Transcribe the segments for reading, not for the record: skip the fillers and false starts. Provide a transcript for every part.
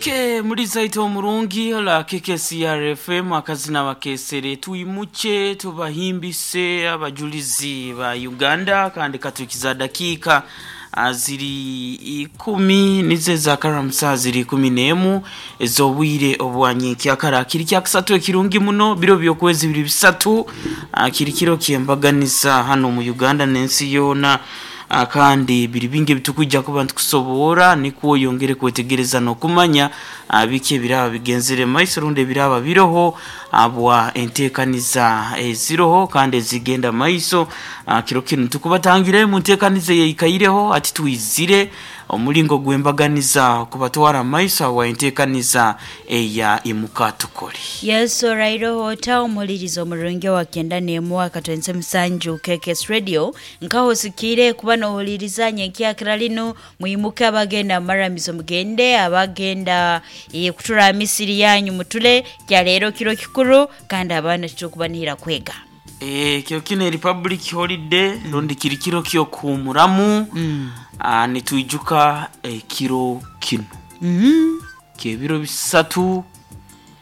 Ke muri zaito omurungi la KKCR FM akazina bakesere tuimuche tubahimbise abajulizi ba Uganda kandi katukiza dakika ziri ikumi nize za karamusa ziri 11 ezobwire obwanyikyakara kiri kyakusatu ekirungi muno biro byokwezi biri bisatu kiri kiro kyembaganiza hano mu Uganda n'ensi yona kandi biri bingi bitukujja kuba ntukusobora nikwo yongere kwetegereza n'okumanya biki ebiraba bigenzere maiso rundi ebiraba biroho abwa enteekaniza eziroho kandi ezigenda maiso. Kiro kinu tukubatangire mu nteekaniza yeikaireho ati twizire omulingo gwembaganiza kubatwara maiso awa enteekaniza eya imuka tukole. Yesu rairoho ota omulirizo omurungi wa kenda n'emu akatwense musanju KKS Radio nkaho sikire kuba nohuliriza nyenkyakira lino mwimuke abagenda maramizo mugende abagenda kutura misiri yanyu mutule kya leero kiro kikuru kandi abaana tukubanihira kwega. Kiro kino Republic Holiday rundi kiri kiro kyokuhumuramu. Nitwijuka ekiro kino kyebiro bisatu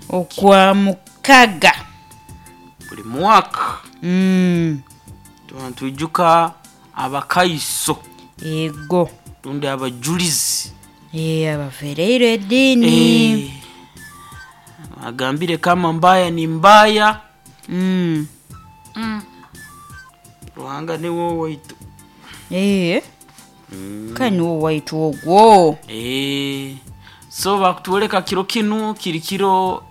okwa mukaga buli mwaka. Twijuka abakaiso ego rundi abajulizi abafereire eddiini. Agambire kama mbaya ni mbaya. Ruhanga niwe waitu. Kandi niwo waitu ogwo. So bakutwoleka kiro kinu kiri kiro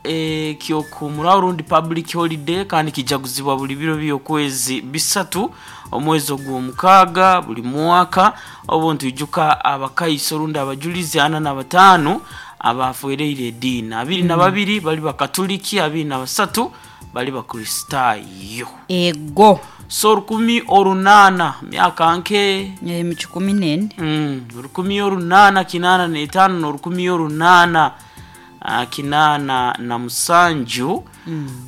kyokuhumura rundi public holiday kandi kijaguzibwa buli biro byokwezi bisatu omwezi ogw'omukaaga buli mwaka obu ntwijuka abakaiso rundi abajulizi 45 abafereire ediini 22 bali bakatuliki 23 bali bakristaayo. Ego. So 1800 myaka nke mu 14 1885 na 1887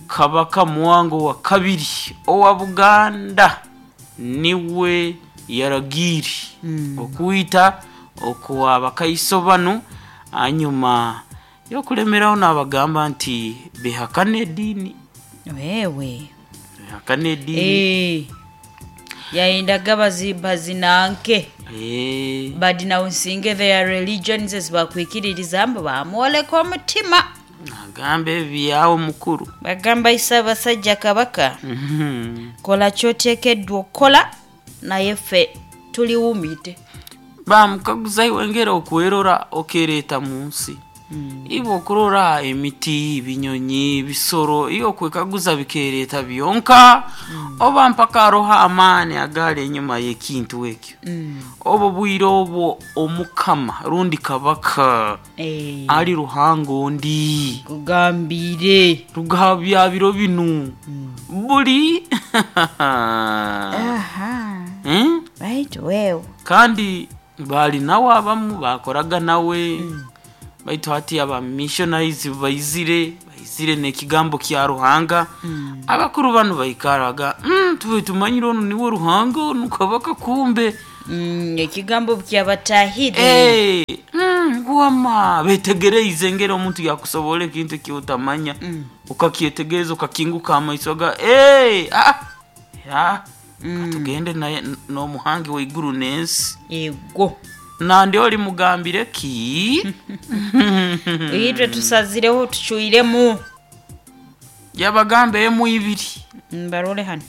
Kabaka Muwango wa kabiri owa Buganda niwe yaragiri okuyita okuwa abakaiso bano hanyuma yokulemeraho n'abagamba nti behakane ediini. Wewe behakane ediini. Yayendaga bazinanke badinawunsinge their religions ezibakwikiririza mbu bamwoleka omutima. Agamba ebyawo mukuru bagamba Ssaabasajja Kabaka kola kyoteekeddwa okukola naye ffe tuliwumite. Bamukaguza iwe ngera okwerora okereeta mu nsi iwe okurora emiti ebinyonyi ebisoro iyo okwekaguza bikereeta byonka oba mpaka aroho amaani agaali enyuma y'ekintu ekyo obwo bwire obwo omukama rundi Kabaka ali Ruhanga ondi kugambire rugabya biro binu buli. Right wewe kandi bali nawe abamu bakoraga nawe baitu hati aba missionaries baizire n'ekigambo kya Ruhanga. Abakuru bano baikaraga tube tumanyire ono niwe Ruhanga ono Kabaka kumbe ekigambo kyabatahire wama betegereize ngera omuntu yakusobola ekintu ekyotamanya ukakyetegereza ukakinguka amaiso ga katugende naye n'omuhangi w'eiguru n'ensi. Ego nandi oli mugambire ki itwe tusazireho tucwiremu yabagamba emu ibiri mbarole hano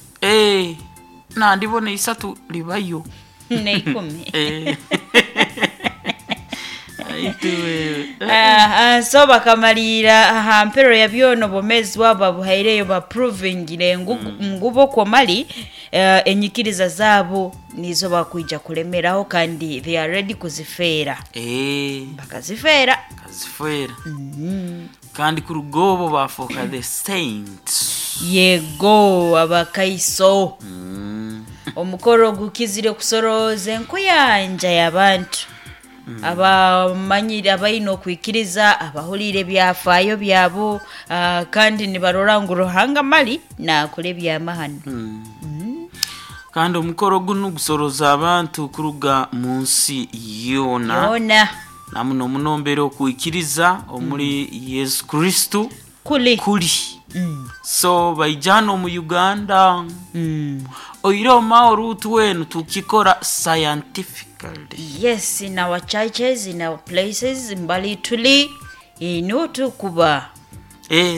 nandi bona isatu libayo neikumi. Aituwe So bakamalira aha mpero ya byono bomezi wabo babuhaireyo baprovingire ngubo kwomali enyikiriza zaabo nizo bakwija kulemeraho kandi they are ready kuzifeera. Bakazifeera kazifeera kandi kuruga obwo bafuuka the saints. Yego abakaiso omukoro gukizire kusorooza enkuyanja y'abantu abamanyire abaine okwikiriza abahuriire ebyafaayo byabo kandi nibarora ngu Ruhanga mali naakora ebyamahano. Kandi omukoro guno gusoroza abantu kuruga mu nsi yona. Yona. Na muno muno mbere okwikiriza omuri Yesu Kristo Kuli. Kuli. So baijana omu Uganda. Oire omao rutu wenu tukikora scientifically. Yes, in our churches, in our places, mbali tuli ino tukuba.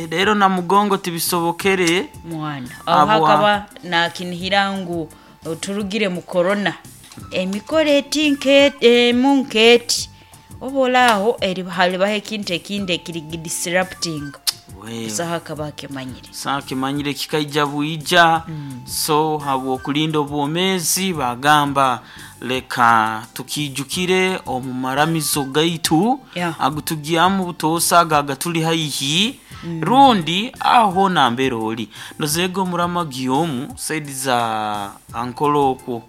Rero na mugongo tibisobokere. Mwana aho hakaba nakinihira ngu turugire mu corona, emikoro eti emu nketi obolaaho halibaho ekintu ekindi ekiri disrupting. Busaho akaba akimanyire. Sa kimanyire kikaija bwija. So habwokulinda obwomezi bagamba leka tukijukire omu maramizo gaitu agutugyamu butoosa aga agatuli haihi rundi aho nambere oli nozega omuramagi omu saidi za ankolo okwo.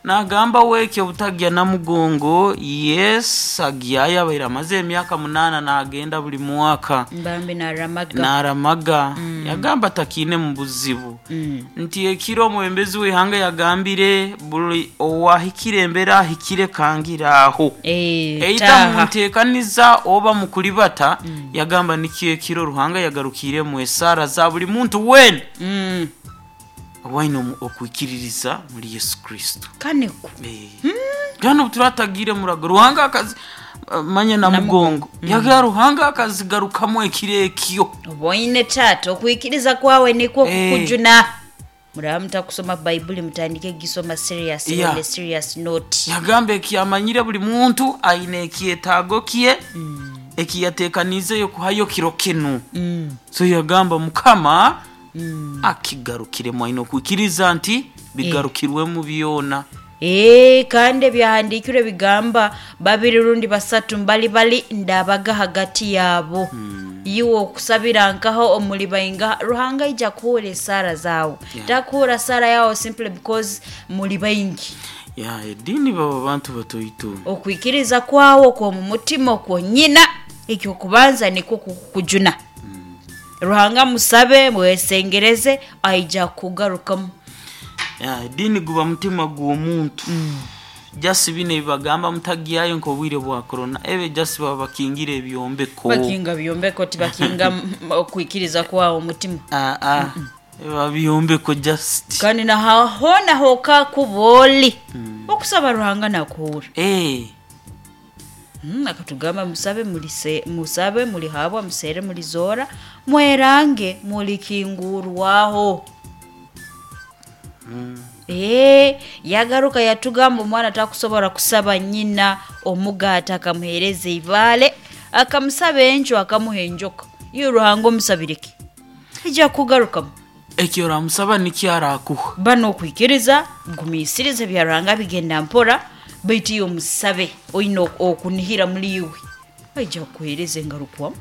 Nagamba wekyo obutagya na mugongo, yes, agyayo abaire amaze emyaka 8 nagenda buli mwaka. Mbambi naramaga. Naramaga. Yagamba takiine mu buzibu. Nti ekiro omwembezi w'ihanga yagambire buli owahikire embera ahikire kangiraho. Eita munteekaniza oba mukulibata. Yagamba nikyo ekiro Ruhanga yagarukire mu esara za buli muntu wena waine okwikiririza muri Yesu Kristo. Kaneko. Gano turatagire murago Ruhanga akazi manya na mugongo. Yaga Ruhanga akazigarukamu ekiro ekyo. Oboine tata okwikiriza kwawe nikwo kukujuna. Muraba mutakusoma Baibuli mutandike gisoma serious on a serious note. Yagamba ekiyamanyire buli muntu aine ekyetaago kye ekiyateekaniizeyo kuhayo kiro kinu. So yagamba Mukama akigarukiremu aine okwikiriza nti bigarukirwemu byona. Kandi ebyahandiikirwe bigamba babiri rundi basatu mbali bali ndabaga hagati yaabo. Iwe okusabira nkaho omuli bainga Ruhanga aija kuhura esaara zaawe. Takuhura saara yawe simply because muli baingi. Ya edini baba bantu batoito. Okwikiriza kwawe okw'omu mutima okwonyina ekyokubanza nikwo kukujuna. Ruhanga musabe mwesengereze aija kugarukamu. Ya edini guba mutima gw'omuntu. Jasi bine bibagamba mutagyayo nk'obwire bwa corona ebe jasi baba bakingira ebyombeko. Bakinga byombeko tibakinga okwikiriza kwawe omutima. Eba byombeko just. Kandi nahona hoka kuboli. Okusaba Ruhanga nakuhura. Akatugamba musabe mulise, musabe mulihabwa, musere mulizora, mwerange mulikingurwaho. Yagaruka yatugamba omwana takusobola kusaba nyina omugaata akamuhereza ibaale, akamusaba enjo akamuha enjoka. Iyo Ruhanga omusabireki ija kugarukamu. Ekyo oramusaba nikyo arakuha. Bano okwikiriza gumiisiriza bya Ruhanga bigenda mpora, baitu iyo omusabe oine okunihira muri iwe aija kukuhereza engarukwamu.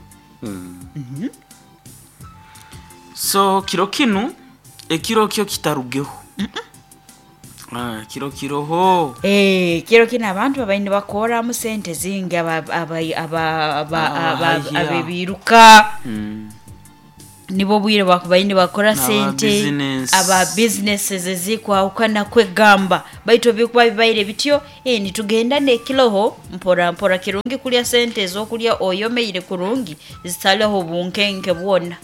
So kiro kinu ekiro kyo kitarugeho. Kiro kiroho. Kiro kino abantu babaine bakoramu sente zingi abebiruka. Nibo bwire bakubaine bakora sente aba businesses ezikwahukana kwegamba baitu bikuba bibaire bityo. Nitugenda nekiroho mpora mpora kirungi kulya sente ezokulya oyomeire kurungi zitaleho bunkenke bwona.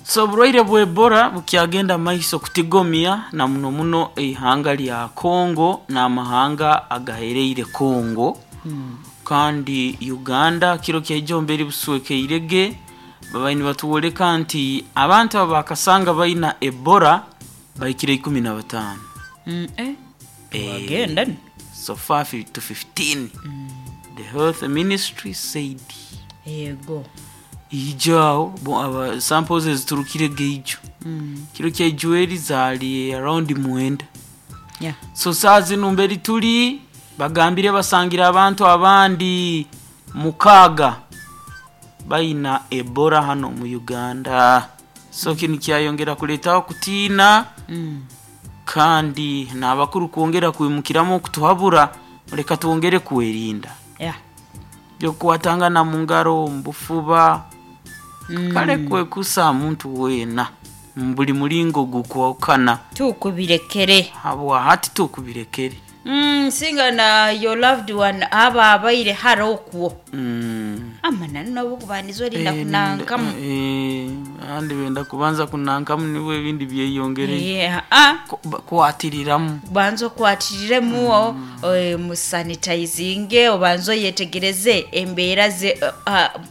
So oburwaire bwa Ebola bukyagenda maiso kutigomya na muno muno eihanga lya Congo n'amahanga agahereire Congo. Kandi Uganda kiro kyaijomberi buswekeirege babaini batuwoleka nti abantu abo bakasanga baina Ebola bahikire 15. Bagenda ni? So far to 15. The health ministry said. Yego. Ijao aba samples eziturukire geijo. Kiro kyaijueri zali around 9. So saa zino mberi tuli bagambire basangira abantu abandi 6 baina Ebola hano mu Uganda. So kini kyayongera kuletaho kutiina. Kandi n'abakuru kwongera kwimukiramu okutuhabura reka twongere kwerinda. Byokukwatangana mu ngaro mu bufuba. Kale kwekusa muntu wena buli mulingo gukwawukana. Tukubirekere. Habwa hati tukubirekere. Singa na your loved one aba abaire hara okwo. Amananu nabo kubandiza orinda kunankamu. Abandi benda kubanza kunankamu nibwo ebindi byeyongereye. Yeah, ah. Kwatiriramu. Banza okwatiriremu musanitizinge, obanze oyetegereze embeera ze,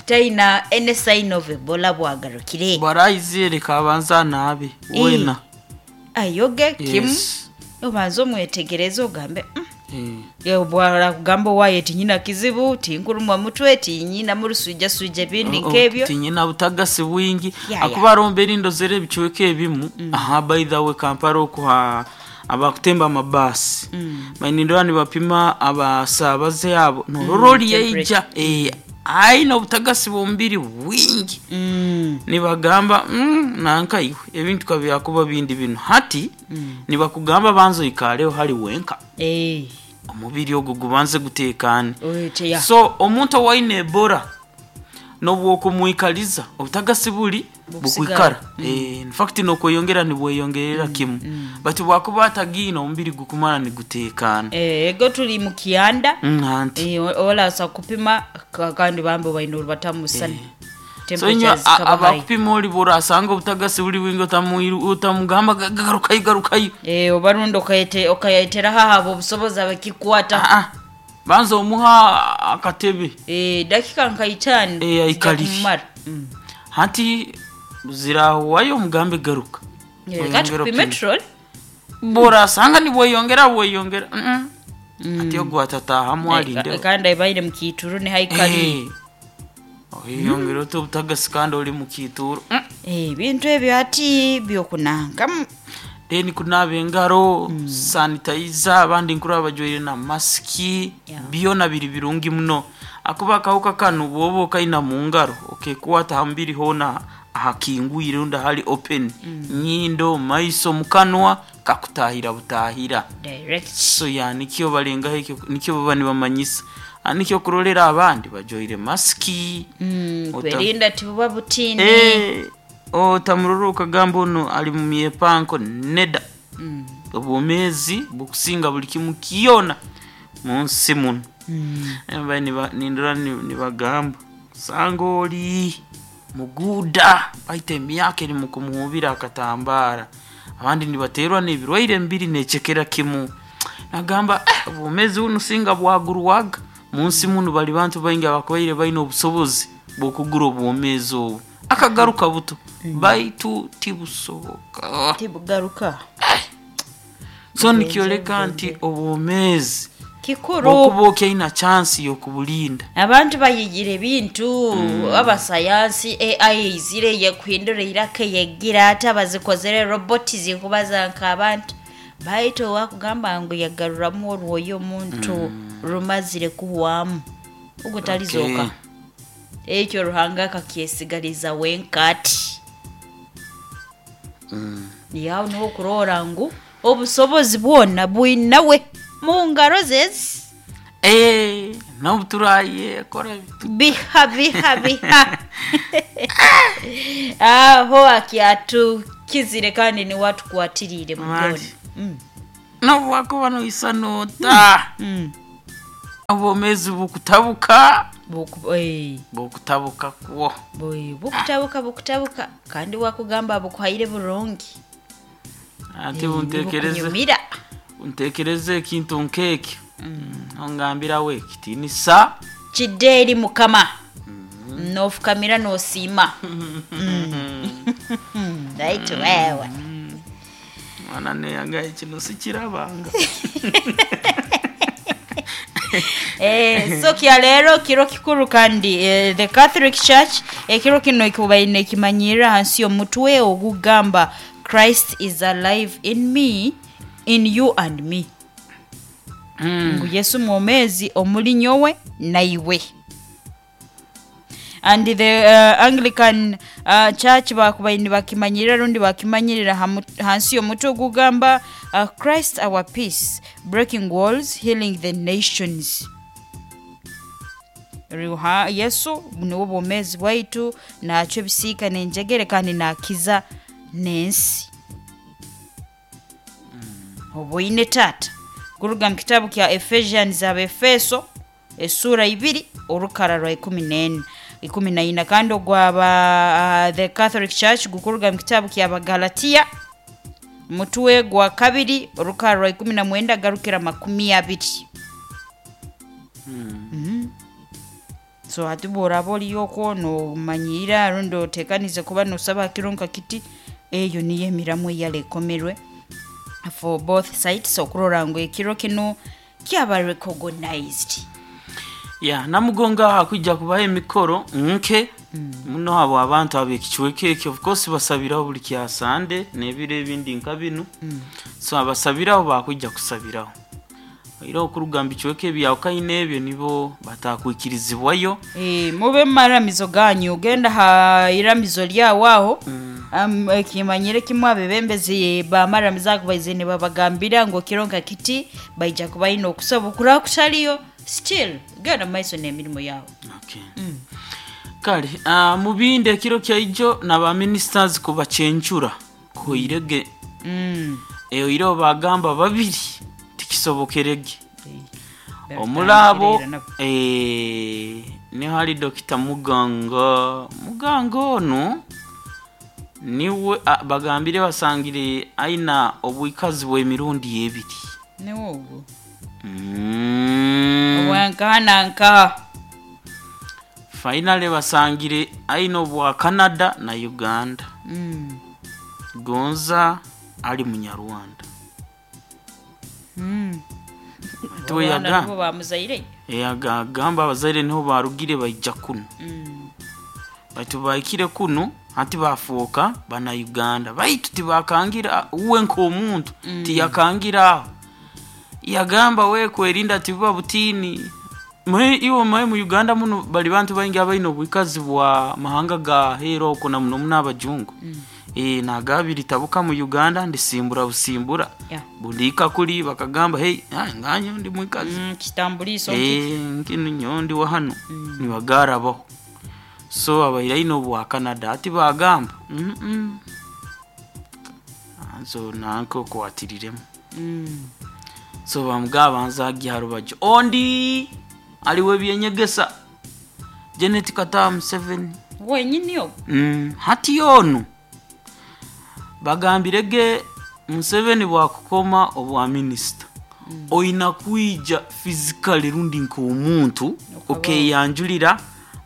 taina any sign of Ebola bwagarukire. Bwaraize reka abanze anaabe wena. Ayoge kimu. Yes. Obanze omwetegereze ogambe Eh. Bwara kugamba owaye tinyina kizibu, tinkurumwa mutwe, tinyina murusujasuja ebindi nk'ebyo. Tinyina butagasi bwingi. Ya, Akuba aromba erindo zere ebicweka ebimu. Aha, by the way, Kampala okuha abakutemba amabasi mainindora nibapima abasabaze abo norora yaija aina obutagasi bw'omubiri bwingi. Nibagamba nanka iwe ebintu kabyakuba bindi bino hati. Nibakugamba banza oikareho hali wenka. Omubiri ogwo gubanze gutekane. Oite ya. So omuntu owaine Ebola nobwokumwikaliza obutagasi buli Bukusigara. bukwikara. In fact nokweyongera nibweyongerera kimu, but bwakuba atagiine omubiri gukumara nigutekana. Ego tuli mu kianda. Anti Olasa kupima kandi bambe baine orubatamusana. So inywe abakupima oli borasanga obutagasi buli bwingi, otamugamba garukayo garukayo. Obarundi okayetera haha abo obusobozi abakikwata. Ah, ah. Banza omuha akatebe. Dakika nka 5. Aikalire. Kumara. Hati zirahuwayo omugambe garuka. Kati Oyongera kupime opime. trol. Borasanga nibweyongera bweyongera. Ati ogwo atatahamu alinde. Kandi abaire mu kituru ni haikali. Oyongera oti obutagasi kandi oli mu kituro. Ebintu ebyo ati byokunankamu. Then kunaaba engaro, sanitizer, abandi nkuraba bajwaire na masiki. Byona biri birungi muno akuba akawuka kano bwoba okaina mu ngaro okekwata ha mubiri hoona ahakingwire rundi ahali open, nyindo, maiso, mukanwa, kakutahira butahira. Direct. So ya nikyo balengaho ekyo nikyo baba nibamanyisa. Ah, nikyo kurolera abandi bajwaire masiki. Kwerinda tibuba butini. Otamurora okagamba ono ali mu myepanko neda. Obwomeezi bukusinga buli kimu kyona mu nsi muno. Mbaye nindora nibagamba sanga oli muguda baita emyaka eri mukumuhubira akatambara, abandi nibaterwa n'ebirwaire mbiri necekera kimu. Nagamba obwomeezi buno singa bwagurwaga mu nsi muno, bali bantu baingi abakubaire baine obusobozi bw'okugura obwomeezi obu akagaruka buto, baitu tibusoboka. Tibugaruka. So nikyoleka nti obwomeezi Kikuru. bwokuba okyaina chansi y'okubulinda. Abantu bayigira ebintu, abasayansi AI izire yekuhindura iraka yegira ate abazikozere roboti zikubaza nk'abantu, baitu owakugamba ngu yagaruramu orwoyo omuntu rumazire kuhwamu ogwo talizoka. Ekyo Ruhanga akakyesigaliza wenkati. Yawe niho okurora ngu obusobozi bwona bwinawe mu ngaro zezi. N'obuturaye kora Biha biha biha aho akyatukizire kandi niwe atukwatirire mu byona. Mali. Nobwakuba noisa nota obwomeezi bukutabuka. Bukutabuka kwo. Bukutabuka bukutabuka kandi wakugamba bukuhaire burungi. Ate buntekereze Nibukunyumira. Untekereze ekintu nk'ekyo ongambirawe ekitinisa Kidde eri Mukama nofukamira nosiima. Right wewe. Mwana neyangaye kino sikirabanga. So kya leero kiro kikuru kandi the Catholic Church ekiro kino ekubaine kimanyirira hansi y'omutwe ogugamba Christ is alive in me, in you and me, ngu Yesu mwomezi omuli nyowe naiwe. And the Anglican Church bakubaine bakimanyirira rundi bakimanyirira hansi y'omutwe ogugamba Christ our peace, breaking walls, healing the nations. Ruha Yesu niwe bwomezi bwaitu, nakyo ebisiika nenjegere kandi nakiza n'ensi. Obwoine taata. Guruga mu kitabu kya Ephesians, Abefeso esura 2 orukara rwa 14 14, kandi ogwaba the Catholic Church gukuruga mu kitabu kya Bagalatia mutwe gwa 2 orukara rwa 19 garukira 20. So hati bworaba oriyokwo nomanyira rundi otekanize kuba nosaba kiro nka kiti, eyo niyo emiramu eyalekomerwe for both sides okurora ngu ekiro kino kyaba recognized. Ya namugonga hakwijja kubaho emikoro nke muno abo abantu ab'ekicweka ekyo, of course basabiraho buli kya Sande n'ebiro ebindi nka binu. So abasabiraho bakwija kusabiraho era okuruga mu bicweka ebyawukaine ebyo nibo batakwikirizibwayo. Mube mumaramizo ganyu, genda ha iramizo lyawe aho. Kimanyire kimwe, abebembezi bamaramizo ago baize nibabagambira ngu kiro nka kiti baija kuba baine okusaba okuraba kutaliyo, still genda mumaiso n'emirimo yawe. Okay. Kale mu bindi ekiro kyaijo naba ministers kubacencura kuhoirege. Oireho bagamba babiri tikisobokerege. Omulabo niho hari Dr. Muganga. Muganga onu niwe bagambire basangire aina obwikazi bw'emirundi ebiri. Niwe ogwo obwankaha nankaha. Finally basangire aina obwa Canada na Uganda. Gonza ali munyarwanda. Tuwe Abaana yaga. nibo bamuzaire. Agamba abazaire niho barugire baija kuno. Baitu bahikire kuno hati bafuuka bana Uganda, baitu tibakangira uwe nk'omuntu. Tiyakangira aho, yagamba we kwerinda tibuba butini. Mwe iwe mwe mu Uganda muno bali bantu baingi abaine obwikazi bwa mahanga ga hero oko na muno muno abajungu. Nagabiri tabuka mu Uganda ndisimbura busimbura. Bundika kuli bakagamba hey, nganyo ndi mwikazi. Kitambuliso. Nkinu nyondi wa hano. Nibagarabaho. So abairaine obwa Canada ati bagamba so nanka okwatiriremu. So bamugaba nzagi harubajo ondi aliwe byenyegesa Janet Kataha Museveni Wenyini ogwo. Hati onu bagambirege Museveni bwakukoma obwa minisita oina kwija physically rundi nk'omuntu okeyanjulira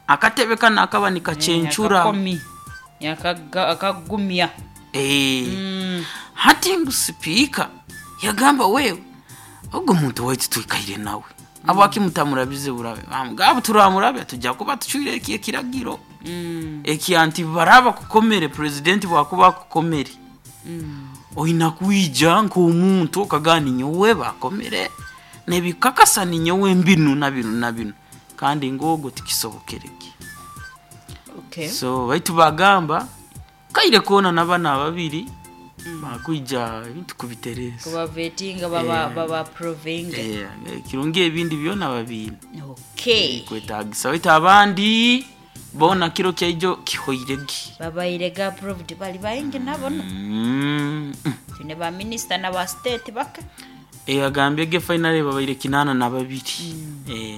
akatebe kano akaba nikacencura. Akakomi. Akagumya. Hati ngu sipiika yagamba wewe ogwo muntu waitu twikaire nawe abwaki mutamurabize burabe, bamugamba turamurabya tujja kuba tucwire eki ekiragiro eki anti baraba kukomere president bwakuba akukomere oina kwija nk'omuntu okagamba ninyowe bakomere nebikakasa ninyowe mbinu na binu na binu, kandi ng'ogwo tikisobokereke. So baitu bagamba kaire koona n'abana ababiri bakwija ebintu kubitereza. Kubavetinga baba provinga. Kirungi ebindi byona babiine. Kwetagisa baitu abandi bona kiro kyaijo kihoirege. Babaire ga approved bali baingi nabo no. Tune ba minister na ba state baka. Agambye ge finally babaire 82.